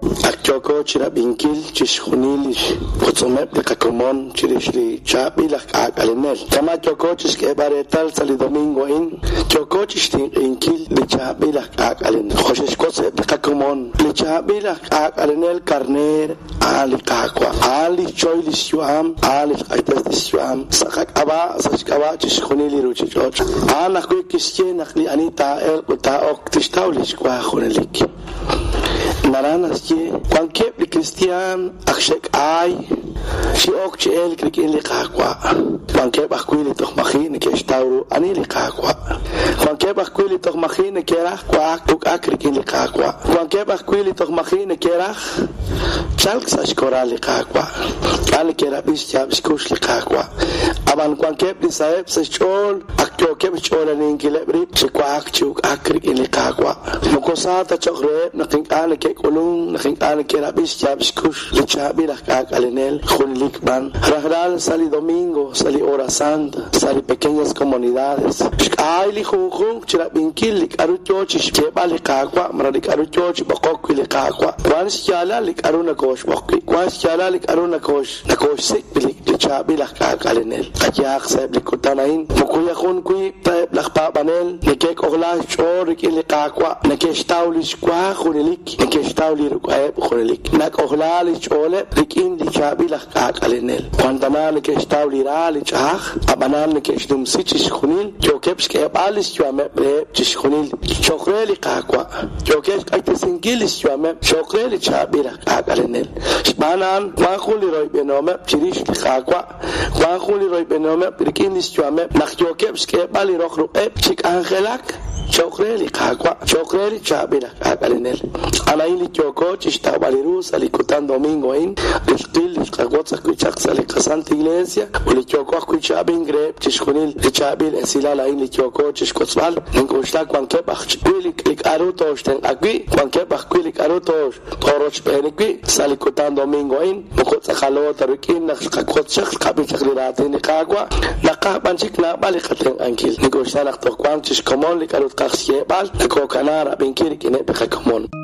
Ak yooko chirab'inkil chixjunil lix wotzomeb' li qakomon chirix li chaab'il aj k'aak'alenel. Kama' yooko chixk'eeb'al reetal sa' li domingo a'in, yooko chixtinq'inkil li chaab'il aj k'aak'alenel. Jo' xe'xwotz eb' li qakomon, li chaab'il aj k'aak'alenel karneer a'an li Qaawa'. A'an li xchoy lix yu'am, a'an li xq'axtes lix yu'am sa' qak'ab'a', sa' xk'ab'a' chixjunil li ruchich'och'. A'an ajwi' kixye naq li ani taa'elq ut taa'ok tixtaw lix wa junelik. Naraj naxye, wankeb' li kristiaan ak xe'k'ay chi ok chi elk rik'in li Qaawa'. Wankeb' ajwi' li toj maji' neke'xtaw ru ani li Qaawa'. Wankeb' ajwi' li toj maji' neke'raj wa'ak uk'ak rik'in li Qaawa'. Wankeb' ajwi' li toj maji' neke'raj chalk sa' xkoral li Qaawa'. K'a' neke'rab'i xyaab' xkux li Qaawa'. Ab'an wankeb' li saheb' sa' xch'ool ak yookeb' xch'oolaninkileb' rib' chi wa'ak chi uk'ak rik'in li Qaawa'. Moko sa ta cho'q reheb' naq ink'a' neke'k'ulunk, naq ink'a' neke'rab'i xyaab' xkux li chaab'il aj k'aak'alenel, junelik b'an rajlal sa' li domingo, sa' li hora santa, sa' li pequeñas comunidades. Xk'aay li junjunq chi rab'inkil li k'aru yo chi xyeeb'al li Qaawa' malaj li k'aru yo chi b'oqok wi' li Qaawa'. Wank xyaalal li k'aru nokooxb'oq wi', wank xyaalal li k'aru nokooxsik' wi' li chaab'il aj k'aak'alenel. Qayehaq sa'eb' li kutan a'in, moko yajun wiib' ta eb' laj paab'anel neke'k'ojlaak xch'ool rik'in li Qaawa', neke'xtaw li xwa junelik, neke'xtaw li ruk'a'eb' junelik. Nak'ojlaak li xch'ooleb' rik'in li chaab'il aj k'aak'alenel. Wan tana neke'xtaw li ra li ch'a'aj, ab'anan neke'xnumsi chixjunil, yookeb' xk'eeb'al li xyu'ameb' reheb' chixjunil cho'q re li Qaawa', yookeb' xq'axtesinkil li xyu'ameb' cho'q re li chaab'il aj k'aak'alenel. Xb'aan a'an wank jun li royb'enihomeb' chirix li Qaawa', wank jun li royb'enihomeb' rik'in li xyu'ameb' naq yookeb' xk'eeb'al li roq ruq'eb' chi k'anjelak cho'q re li Qaawa', cho'q re li chaab'il aj k'aak'alenel. A'an a'in li yooko chi xtawb'al ru sa' li kutan domingo a'in, li xqil, li xqawotz ajwi' chaq sa' li qaSanta Iglesia ut li yooko ajwi' chi ab'ink reheb' chixjunil li chaab'il esilal a'in li yooko chixwotzb'al. Nink'oxla wankeb' ajwi' li k'a'ru tooxtenq'a wi', wankeb' ajwi' li k'a'ru toorochb'eeni wi' sa' li kutan domingo a'in. Moko tz'aqalo ta rik'in naq xqawotz chaq, xqab'i chaq li raatin li Qaawa', naqaj b'an chik naab'al li qatenq'ankil. Nink'oxla naq toj wank chi xkomon li k'a'ru tqaj xyeeb'al, nakookanaa rab'inkil rik'ineb' li qakomon.